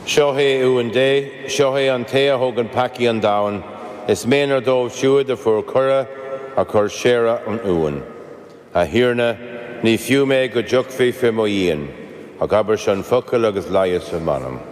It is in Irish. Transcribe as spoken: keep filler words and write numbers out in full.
Seo é Uan Dé, seo é an té a thógann peacaí an domhain, is méanar dóibh siúd a fuair cuireadh a chur séire an Uain. A Thiarna, ní fiú mé go dtiocfaí faoi mo dhíon, ach abair an focal agus leigheasfaidh m'anam.